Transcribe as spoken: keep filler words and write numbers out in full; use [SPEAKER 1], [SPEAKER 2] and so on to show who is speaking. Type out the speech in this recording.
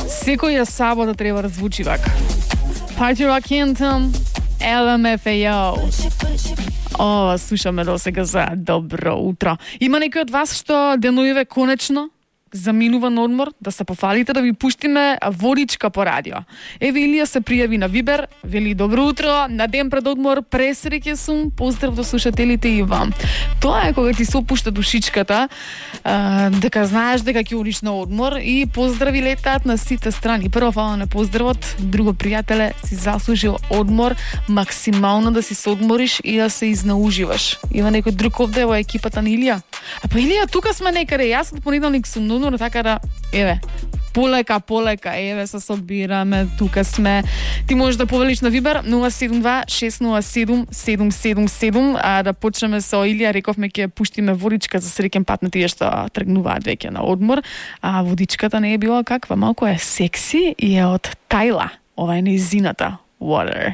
[SPEAKER 1] Секоја сабота треба да звучи вака. Party Rock Anthem, L M F A O. О, слушаме до сега за добро утро. Има некој од вас што деноиве конечно заминува на одмор, да се пофалите да ви пуштиме водичка по радио. Еве Илија се пријави на Вибер, вели добро утро, на ден пред одмор, пресреќен сум, поздрав до слушателите и вам. Тоа е кога ти се опушта душичката, а, дека знаеш дека ќе одиш на одмор и поздрави летаат на сите страни. Прво фала на поздравот, друго пријателе, си заслужил одмор, максимално да си се одмориш и да се изнауживаш. Има некој друг овде во екипата на Илија? А па Илија, тука сме некаде, јас од понеделник сум но така да, еве, полека, полека, еве, се собираме, тука сме. Ти можеш да повелиш на Вибер нула седум два шест нула седум седум седум седум, а да почнеме со Илија, рековме ќе пуштиме водичка за среќен пат на тие што тргнуваат веќе на одмор, а водичката не е била каква, малку е секси и е од Тайла. Ова е нејзината Water.